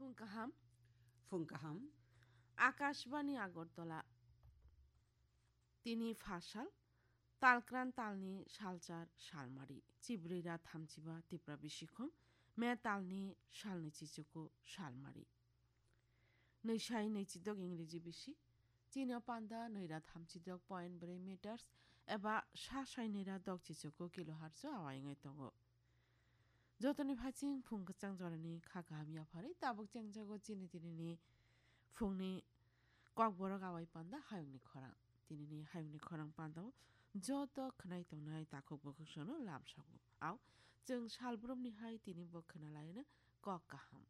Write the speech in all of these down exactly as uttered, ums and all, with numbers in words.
Phung kaham. Phung kaham. Akashbani Agartala. Tini phasal, talkran talni salchar salmari, chibrira thamchiba tipra bisikhom, me talni salni chichuku salmari. Nwisai nwichidok Ingreji bisi, chini o panda nwira thamchidok point bwrwi meters eba sa sai nwira dok chichuku kilohertz o awai wngwi tongo. Jotoni phaiching phung kwchang jorani kha kaham yapharwi tabuk chengjago chini tinini phungni kokborok awai panda hayungni khorang. Tinini hayungni khorang pandao joto khwnai tongnai takhuk bukhuk sono lamsago. Au chwng salbrumni hai tini bo khwnalaino kok kaham.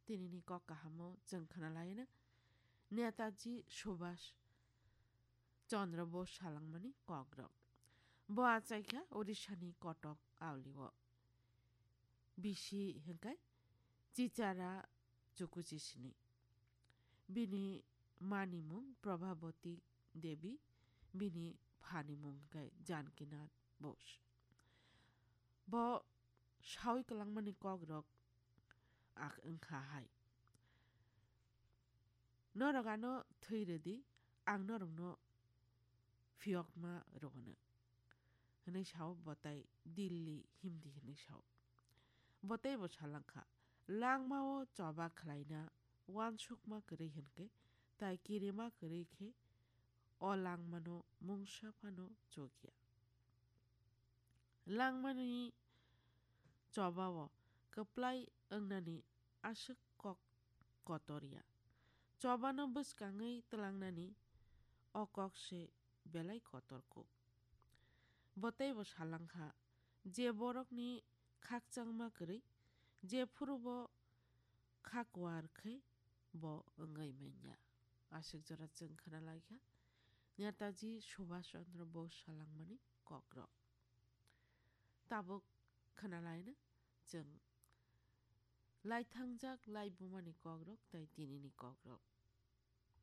Tinini kok kahamo chwng khwnalaino Netaji Subhash Chandra Bose salangmani kokrok. Bo achaikha Odishani Kotok aulio. Bisi hwnkhe Chichara Chukuchisini. Bini mani mung Prabhabati Devi, bini phani mung hwnkhe Janakinath Bose. Bo saui kwlangmani kokrok ak wngkha hai. Norok ano thwi rwdi, ang norokno phiyokma rwgwno, hwnwi sao bo tai Dilli himdi hwnwi sao. Bo teibo salangkha, langmao choba khlaina uansukma kwrwi hwnkhe tai kirima kwrwi khe o langmano mungsa phano chukya. Langmani chobao kwplai wngnani aswk kok kotor ya. Chobano bwskangwi twlangnani o kok se belai kotor kuk. Bo teibo salangkha, je borokni khakchangma kwrwi, jephuru bo kha kuar khe bo wngwi manya. Aswk jora chwng khwnalaikha Netaji Subhash Chandra Bose salangmani kokrok. Tabuk khwnalaino chwng laithangjak laibumani kokrok tai tinini kokrok.